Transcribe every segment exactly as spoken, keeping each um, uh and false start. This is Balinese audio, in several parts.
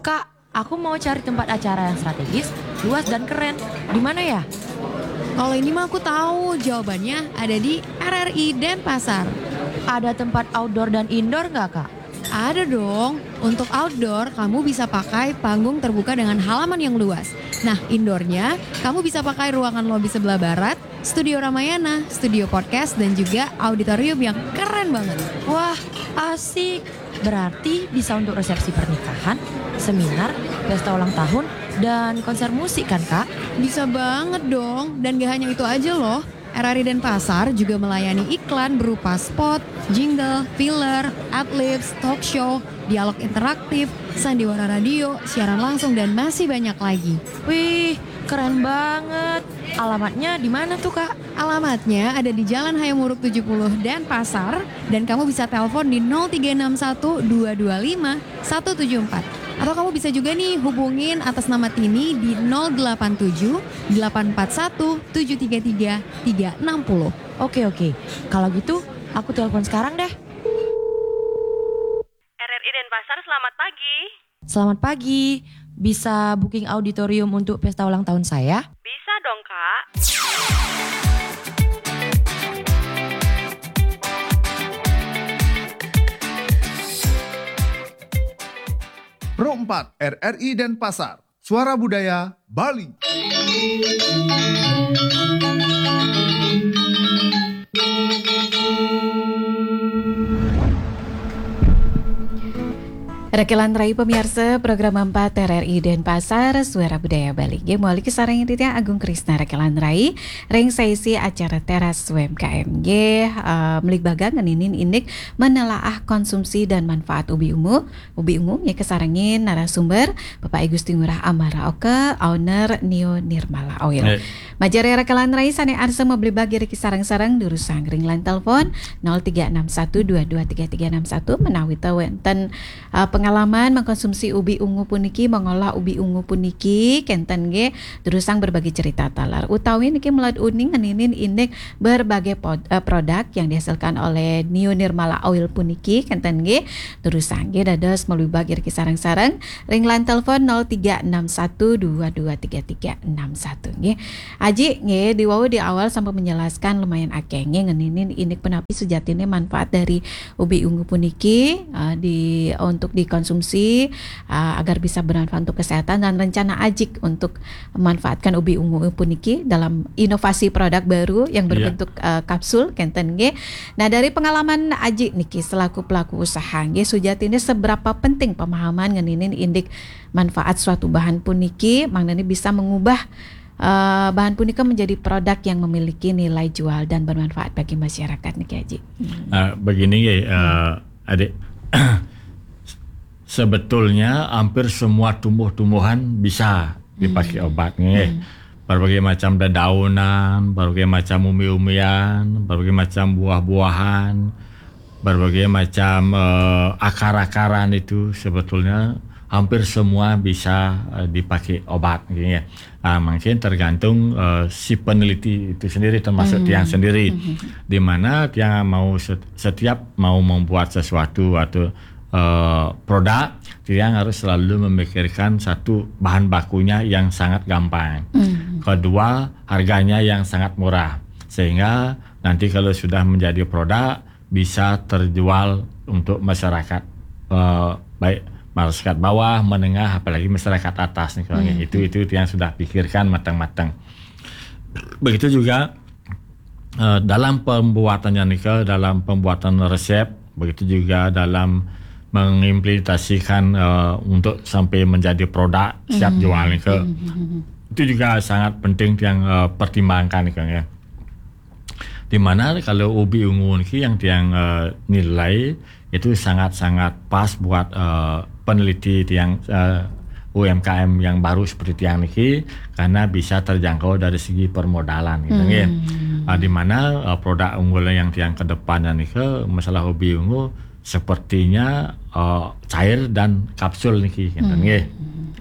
Kak, aku mau cari tempat acara yang strategis, luas dan keren. Di mana ya? Kalau ini mah aku tahu, jawabannya ada di R R I Denpasar. Ada tempat outdoor dan indoor nggak, Kak? Ada dong. Untuk outdoor, kamu bisa pakai panggung terbuka dengan halaman yang luas. Nah, indoornya, kamu bisa pakai ruangan lobi sebelah barat, studio Ramayana, studio podcast, dan juga auditorium yang keren banget. Wah, asik. Berarti bisa untuk resepsi pernikahan, seminar, pesta ulang tahun, dan konser musik kan, Kak? Bisa banget dong. Dan gak hanya itu aja loh. R R I Denpasar juga melayani iklan berupa spot, jingle, filler, adlibs, talk show, dialog interaktif, sandiwara radio, siaran langsung, dan masih banyak lagi. Wih, keren banget. Alamatnya di mana tuh, Kak? Alamatnya ada di Jalan Hayam Wuruk tujuh puluh Denpasar, dan kamu bisa telepon di nol tiga enam satu dua dua lima satu tujuh empat. Atau kamu bisa juga nih hubungin atas nama Tini di nol delapan tujuh delapan empat satu tujuh tiga tiga tiga enam nol. Oke, oke. Kalau gitu, aku telepon sekarang deh. R R I Denpasar, selamat pagi. Selamat pagi. Bisa booking auditorium untuk pesta ulang tahun saya? Bisa dong, Kak. Pro empat R R I Denpasar, Suara Budaya Bali. Rekelan Rai, pemirsa program empat R R I Denpasar, Suara Budaya Bali. Nggih, mawali kasarengin titiang Agung Krisna Rekelan Rai ring saisi acara Teras U M K M. Nggih, eh, mligbaga ngeninin indik menelaah konsumsi dan manfaat ubi ungu. Ubi ungu nggih kasarengin narasumber Bapak I Gusti Ngurah Amara Oka, owner Neo Nirmala Oil. Nggih. Majeng Rekelan Rai sane arsa mabligbaga ring sareng-sareng, durusang ring line telepon nol tiga enam satu dua dua tiga tiga enam satu, menawi ta wenten, uh, pengalaman mengkonsumsi ubi ungu puniki, mengolah ubi ungu puniki, kenten nggih, durusang berbagi cerita taler. Utawi niki meled uning ngeninin indik berbagai pod-, uh, produk yang dihasilkan oleh Neo Nirmala Oil puniki, kenten nggih, durusang nggih dados mabligbaga ring sareng-sareng ring line telepon nol tiga enam satu dua dua tiga tiga enam satu nggih. Aji nggih, di wau di awal sampun menjelaskan lumayan akeh nggih ngeninin indik punapi sujatine manfaat dari ubi ungu puniki, eh, di, untuk dikonsumsi, eh, agar bisa bermanfaat untuk kesehatan, dan rencana Ajik untuk memanfaatkan ubi ungu puniki dalam inovasi produk baru yang Iya. berbentuk, eh, kapsul, kenten nggih. Nah, dari pengalaman Aji niki selaku pelaku usaha nggih, sujatine seberapa penting pemahaman ngeninin indik manfaat suatu bahan puniki, mangdane bisa mengubah, eh, bahan punika menjadi produk yang memiliki nilai jual dan bermanfaat bagi masyarakat niki, Aji. Hmm. Eh, begini nggih, eh, Adik. Sebetulnya hampir semua tumbuh-tumbuhan bisa dipakai Hmm. obat nggih. Hmm. Berbagai macam dedaunan, berbagai macam umbi-umbian, berbagai macam buah-buahan, berbagai macam, eh, akar-akaran itu sebetulnya hampir semua bisa, eh, dipakai obat nggih ya. Ah, mungkin tergantung, eh, si peneliti itu sendiri, termasuk Hmm. tiang sendiri. Hmm. Di mana tiang mau set-, setiap mau membuat sesuatu atau, eh, produk, tiang harus selalu memikirkan satu, bahan bakunya yang sangat gampang. Hmm. Kedua, harganya yang sangat murah. Sehingga nanti kalau sudah menjadi produk, bisa terjual untuk masyarakat, eh, baik masyarakat bawah, menengah, apalagi masyarakat atas nih kalau Hmm. itu, itu yang sudah pikirkan matang-matang. Begitu juga, eh, dalam pembuatannya nih, dalam pembuatan resep, begitu juga dalam mengimplementasikan, eh, untuk sampai menjadi produk siap Hmm. jual nih, Hmm. itu juga sangat penting yang, eh, pertimbangkan nih, ya. Di mana kalau ubi ungu niki yang tiang, eh, nilai itu sangat-sangat pas buat, eh, peneliti tiang, eh, U M K M yang baru seperti tiang niki, karena bisa terjangkau dari segi permodalan gitu, Hmm. nggih. Ah, di mana, eh, produk unggulan yang tiang kedepannya niki, masalah ubi ungu sepertinya, eh, cair dan kapsul niki, gitu, Hmm. nggih.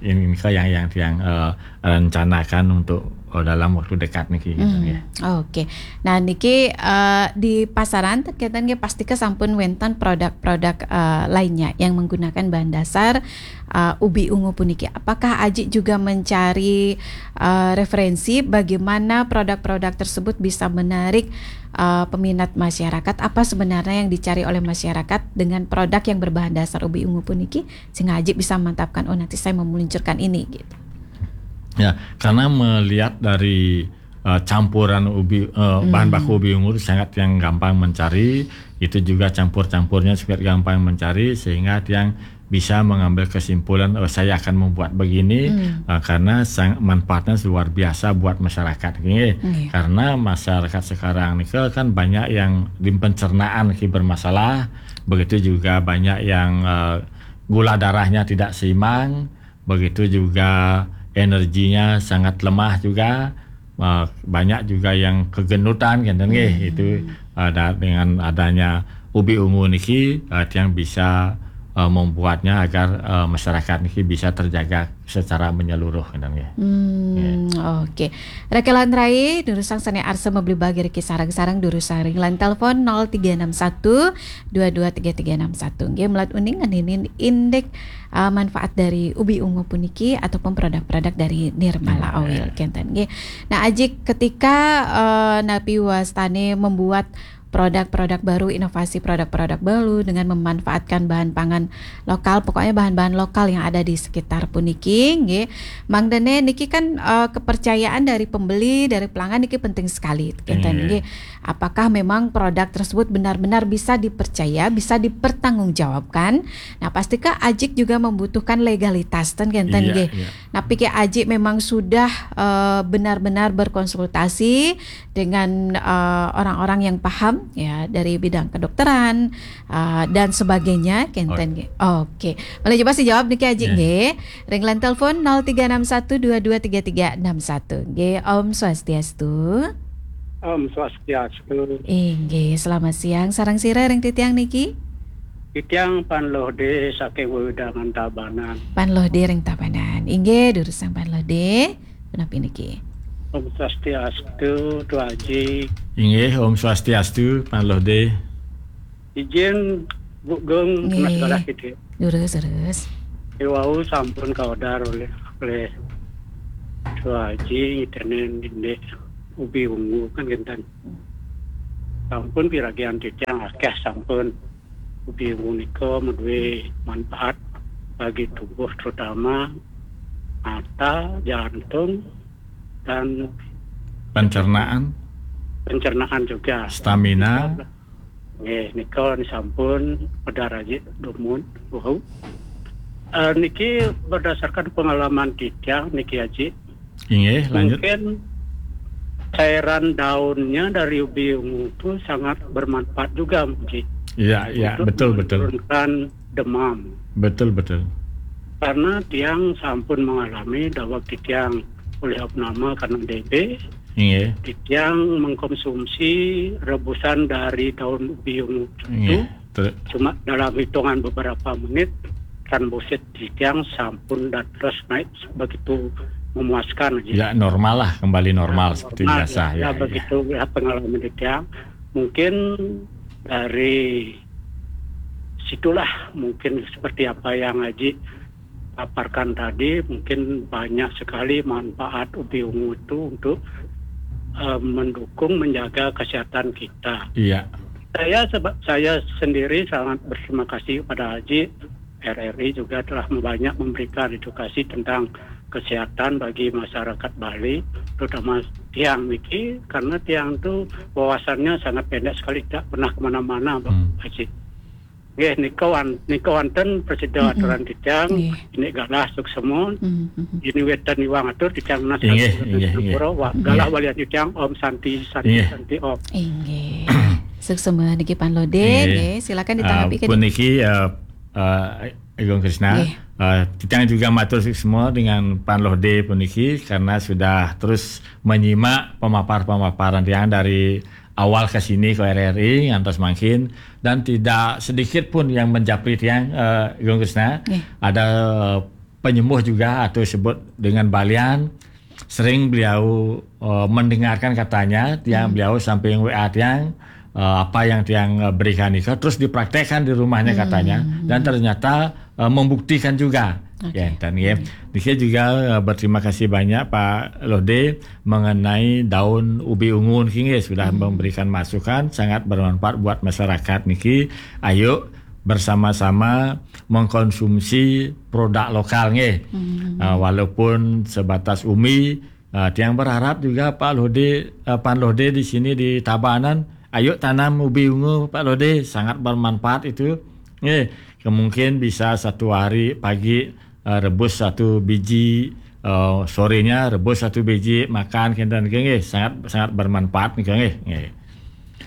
Ini, ini yang, yang tiang, eh, rencanakan untuk dalam waktu dekat niki gitu, ya. Oke. Nah, niki eh, di pasaran ten kenten nggih pasti ke sampun wenten produk-produk eh, lainnya yang menggunakan bahan dasar eh, ubi ungu puniki. Apakah Aji juga mencari eh, referensi bagaimana produk-produk tersebut bisa menarik eh, peminat masyarakat? Apa sebenarnya yang dicari oleh masyarakat dengan produk yang berbahan dasar ubi ungu puniki, sehingga Aji bisa memantapkan, oh, nanti saya mau meluncurkan ini gitu. Ya, karena melihat dari uh, campuran ubi uh, bahan baku ubi ungu itu sangat yang gampang mencari, itu juga campur-campurnya sangat gampang mencari, sehingga yang bisa mengambil kesimpulan, oh, saya akan membuat begini uh, karena sang, manfaatnya luar biasa buat masyarakat ini. Karena masyarakat sekarang ini kan banyak yang di pencernaan ini bermasalah, begitu juga banyak yang uh, gula darahnya tidak seimbang, begitu juga energinya sangat lemah juga. Uh, banyak juga yang kegenutan kan, hmm. Itu uh, dengan adanya ubi ungu niki uh, yang bisa uh, membuatnya agar uh, masyarakat niki bisa terjaga secara menyeluruh kan, ya. Hmm, yeah. Oke. Okay. Rakelan Rai, durusang sane arsa mebli bagi riki sarang-sarang durusang ring line telepon nol tiga enam satu dua dua tiga tiga enam satu. Nggih, melat uning ngeninin indik uh, manfaat dari ubi ungu puniki ataupun produk-produk dari Nirmala Oil kenten nggih. Nah, Aji, ketika uh, napi wastane membuat produk-produk baru, inovasi produk-produk baru dengan memanfaatkan bahan pangan lokal, pokoknya bahan-bahan lokal yang ada di sekitar puniki nggih. Mangdene niki kan uh, kepercayaan dari pembeli, dari pelanggan niki penting sekali kenten nggih. Apakah memang produk tersebut benar-benar bisa dipercaya, bisa dipertanggungjawabkan? Nah, pastika Ajik juga membutuhkan legalitas ten kenten nggih. Nah, pikir Ajik memang sudah uh, benar-benar berkonsultasi dengan uh, orang-orang yang paham ya dari bidang kedokteran uh, dan sebagainya kenten nggih. Oke. Boleh coba sih jawab niki Ajik nggih. Ring line telepon nol tiga enam satu dua dua tiga tiga enam satu. Nggih, Om Swastiastu. Om Swastiastu. Inggih, selamat siang. Sareng sira ring titiang niki? Titiang Pan Lohde saking wewidangan Tabanan. Pan Lohde ring Tabanan. Inggih, durusang Pan Lohde. Punapi niki? Om Swastiastu, Tu Aji. Inggih, Om Swastiastu, Pan Lohde. Izin Bu Gung, nggih. Mas Balas gitu. Durus, durus. Iwau sampun kaodar oleh oleh Tu Aji ngitenen indik ubi ungu kan kenten. Sampun piragian titiang akeh sampun ubi ungu nika maduwe manfaat bagi tubuh, terutama mata, jantung, dan pencernaan, pencernaan juga. Stamina. Nggih, nika sampun pedar aja dumun. Wow. Uh, niki berdasarkan pengalaman titiang niki Aji. Inggih, lanjut. Mungkin cairan daunnya dari ubi ungu itu sangat bermanfaat juga, Ji. Iya, iya, betul, betul. Menurunkan demam. Betul, betul. Karena tiang sampun mengalami daweg titiang oleh opname karena D B. Inggih. Titiang mengkonsumsi rebusan dari daun ubi ungu itu. Inggih. Cuma dalam hitungan beberapa menit, trombosit titiang sampun dan terus naik begitu memuaskan aja. Ya, normal lah, kembali normal ya, seperti normal, biasa ya, ya, ya. Begitu ya pengalaman titiang. Mungkin dari situlah mungkin seperti apa yang Aji paparkan tadi, mungkin banyak sekali manfaat ubi ungu itu untuk uh, mendukung menjaga kesehatan kita. Iya. Saya sebab saya sendiri sangat berterima kasih kepada Aji, R R I juga telah banyak memberikan edukasi tentang kesehatan bagi masyarakat Bali, terutama tiang niki, karena tiang itu wawasannya sangat pendek sekali, tidak pernah kemana-mana, Pak hmm. Haji. Nggih, nika wan, nika wonten presida mm -hmm. Aturan titiang, ini galah suksema, mm -hmm. Ini wetan iwang atur titiang nas galah walian titiang Om Santi, Santi, Santi Om. Inggih. Suksema niki Pan Lode, nggih. Silakan ditanggapi. Uh, puniki uh, uh, Agung Krisna, uh, titiang juga matur suksema dengan Pan Lode puniki karena sudah terus menyimak pemapar-pemaparan tiang dari awal ke sini ke R R I ngantos mangkin, dan tidak sedikit pun yang menjapri tiang, uh, Agung Krisna. Ada uh, penyembuh juga atau sebut dengan balian sering beliau uh, mendengarkan katanya, tiang hmm. beliau samping W A tiang, uh, apa yang tiang uh, berikan itu terus dipraktekkan di rumahnya hmm. katanya, dan ternyata uh, membuktikan juga. Okay. Ya, dan ya, hmm. Saya juga uh, berterima kasih banyak Pak Lode mengenai daun ubi ungu ini sudah hmm. memberikan masukan sangat bermanfaat buat masyarakat niki. Ayo bersama-sama mengkonsumsi produk lokal nggih. Hmm. Uh, walaupun sebatas umi, uh, tiang berharap juga Pak Lode, uh, Pan Lode di sini di Tabanan, ayo tanam ubi ungu Pak Lode, sangat bermanfaat itu. Nggih, kemungkin bisa satu hari pagi uh, rebus satu biji, uh, sorenya rebus satu biji makan kenten nggih, sangat sangat bermanfaat nggih.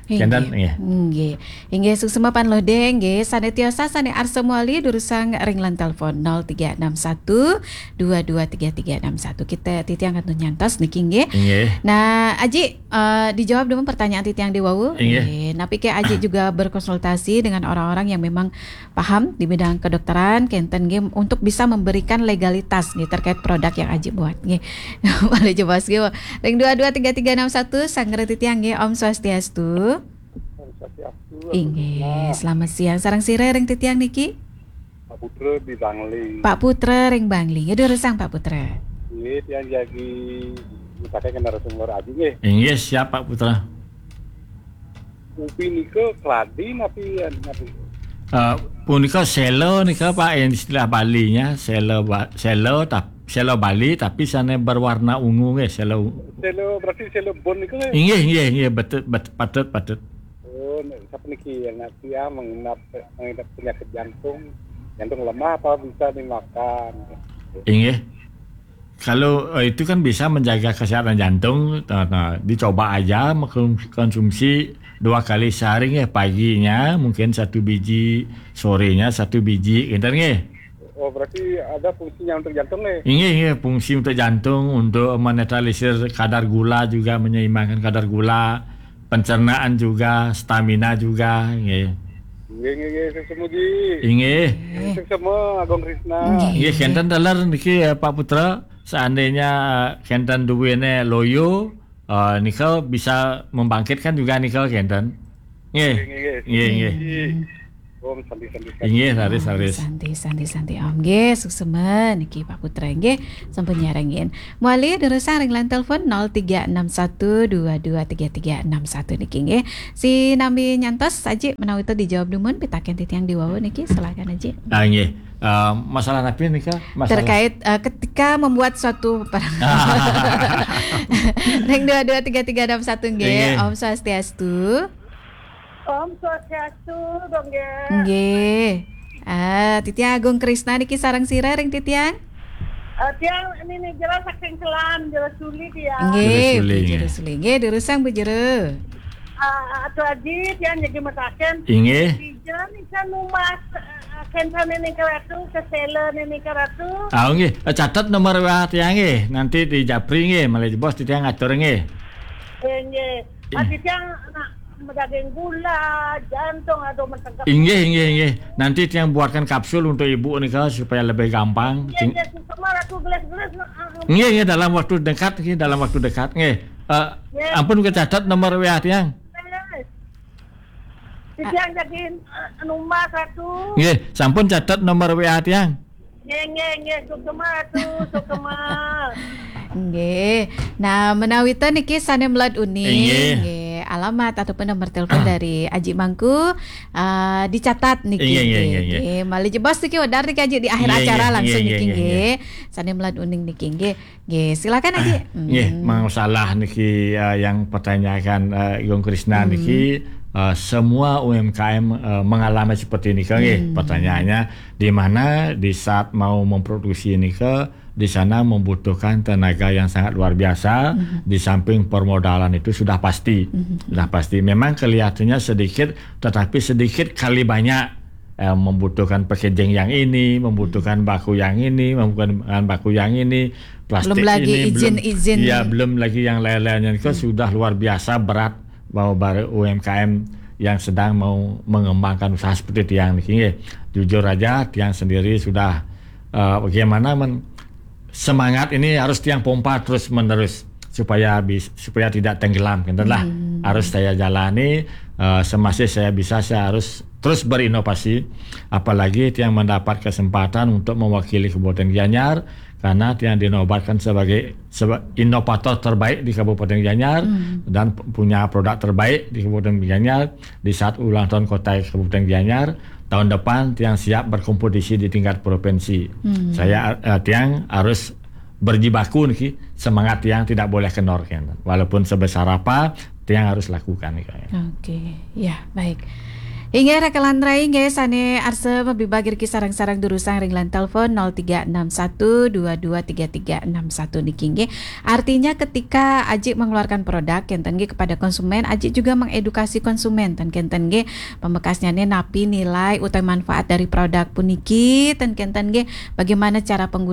Kenten nggih. Nggih. Inggih suksma Pan Lode nggih, sane tiosa sane arsa muali durusang ring lan telepon nol tiga enam satu dua dua tiga tiga enam satu. Kita titiang kantun nyantos niki nggih. Nggih. Nah, Aji, uh, dijawab dulu pertanyaan titiang di wau. Nggih. Nggih. Napi ke Aji juga berkonsultasi dengan orang-orang yang memang paham di bidang kedokteran kenten nggih untuk bisa memberikan legalitas nggih terkait produk yang Aji buat nggih. Boleh jebos nggih. Ring dua dua tiga tiga enam satu sanggra titiang nggih. Om Swastiastu. Om Swastiastu. Inggih, selamat siang. Sareng sira ring titiang niki? Pak Putra di Bangli. Pak Putra ring Bangli. Ya durusang Pak Putra. Nggih, tiang jagi mutake kena narasumber Aji nggih. Inggih, siap Pak Putra. Ubi nika keladi napi napi? Uh, punika sela nika Pak yang istilah Balinya, sela ba, sela tap, sela Bali tapi sana berwarna ungu nggih, sela. Sela berarti sela bon nika nggih? Inggih, inggih, inggih, betul, bet, patut, patut. Oh, sapa niki yang ngerti ya mengenap mengenap penyakit jantung, jantung lemah apa bisa dimakan? Inggih. Kalau uh, itu kan bisa menjaga kesehatan jantung, nah, nah, dicoba aja mengkonsumsi dua kali sehari ya, paginya mungkin satu biji, sorenya satu biji, gitu nggih. Oh, berarti ada fungsinya untuk jantung nih? Inggih, inggih, fungsi untuk jantung, untuk menetralisir kadar gula juga, menyeimbangkan kadar gula, pencernaan juga, stamina juga, nggih. Nggih, nggih, nggih, suksma Ji. Inggih. Suksma Agung Krisna. Nggih, kenten taler niki ya Pak Putra. Seandainya eh, kenten duwene loyo, eh, nika bisa membangkitkan juga nika kenten. Nggih. Nggih, nggih. Nggih, nggih. Om Santi, Santi, Santi. Inggih, Santi, Santi. Santi, Santi, Santi. Om nggih, suksma niki Pak Putra nggih sampun nyarengin. Muali durusang ring line telepon nol tiga enam satu dua dua tiga tiga enam satu niki nggih. Sinambi nyantos Aji menawi to dijawab dumun pitaken titiang di wau niki, silakan Aji. Ah, nggih. Uh, masalah napi nika? Masalah terkait uh, ketika membuat suatu ring dua dua tiga tiga enam satu nggih. Nggih. Om Swastiastu. Om Swastiastu, dong ya. Nggih. Ah, titiang Agung Krisna niki sareng sira ring titiang? Uh, tiang ini nih jelas saking Kelam, jelas sulit ya. Nggih, Jelas sulit, Bu Jero nggih. Sulit. Nggih, durusang Bu Jero. Uh, Atu Aji, tiang jadi mataken. Inggih. Bijan ikan umas uh, kentane ning keratu, kesele ning keratu. Ah, nggih. Eh, catet nomor W A tiang nggih. Nanti di Japri nggih, malih jebos titiang ngatur nggih. Eh, nggih. Ati tiang nak daging gula, jantung atau mentengkap. Inggih, inggih, inggih. Nanti tiang buatkan kapsul untuk ibu nika supaya lebih gampang. Nggih, nggih, semua aku gelas-gelas. Nggih, nggih, dalam waktu dekat, nggih, dalam waktu dekat, nggih. Eh, nggih. Ampun kecatat nomor W A tiang. Nggih. Tiang jadi eh, nomor satu. Nggih, sampun catat nomor W A tiang. Nggih, nggih, nggih, sukma tu, sukma. Nggih. Nah, menawi ten niki sane meled uning. Nggih. Nggih. Alamat ataupun nomor telepon dari Aji Mangku uh, dicatat niki. Nggih, nggih, nggih, nggih. Nggih. Malih jebos niki wedar niki Aji di akhir nggih, acara nggih, langsung nggih, niki nggih, nggih. Nggih. Sane meled uning niki nggih. Nggih, silakan Aji. Nggih, hmm. Masalah niki uh, yang pertanyaan uh, Gung Krisna hmm. niki uh, semua U M K M uh, mengalami seperti ini kan nggih. Hmm. Pertanyaannya di mana di saat mau memproduksi ini ke di sana membutuhkan tenaga yang sangat luar biasa mm-hmm. Di samping permodalan itu sudah pasti mm-hmm. Sudah pasti memang kelihatannya sedikit tetapi sedikit kali banyak eh, membutuhkan packaging yang ini, membutuhkan baku yang ini, membutuhkan baku yang ini, plastik belum lagi ini, izin-izin. Belum, izin. Ya, belum lagi yang lain-lainnya itu hmm. Sudah luar biasa berat bahwa baru U M K M yang sedang mau mengembangkan usaha seperti tiang ini. Jujur aja, tiang sendiri sudah uh, bagaimana men semangat ini harus tiang pompa terus menerus supaya bis, supaya tidak tenggelam, gitu lah. Hmm. Harus saya jalani, eh, semasih saya bisa, saya harus terus berinovasi. Apalagi tiang mendapat kesempatan untuk mewakili Kabupaten Gianyar, karena tiang dinobatkan sebagai, sebagai inovator terbaik di Kabupaten Gianyar dan punya produk terbaik di Kabupaten Gianyar. Di saat ulang tahun kota Kabupaten Gianyar, tahun depan tiang siap berkompetisi di tingkat provinsi. Hmm. Saya, eh, tiang harus berjibaku niki, semangat tiang tidak boleh kendor, kan. Walaupun sebesar apa, tiang harus lakukan, kan. Oke, ya, baik. Inggih, Raka Landra, inggih, sané arsa mabibagi riki sareng-sareng durusang ring line telepon nol tiga enam satu dua dua tiga tiga enam satu niki, inggih. Artinya ketika Ajik mengeluarkan produk, kénten nggih, kepada konsumen, Ajik juga mengedukasi konsumen, ten kénten nggih, pamekasnyané napi nilai utawi manfaat dari produk puniki, ten kénten nggih, bagaimana cara penggunaan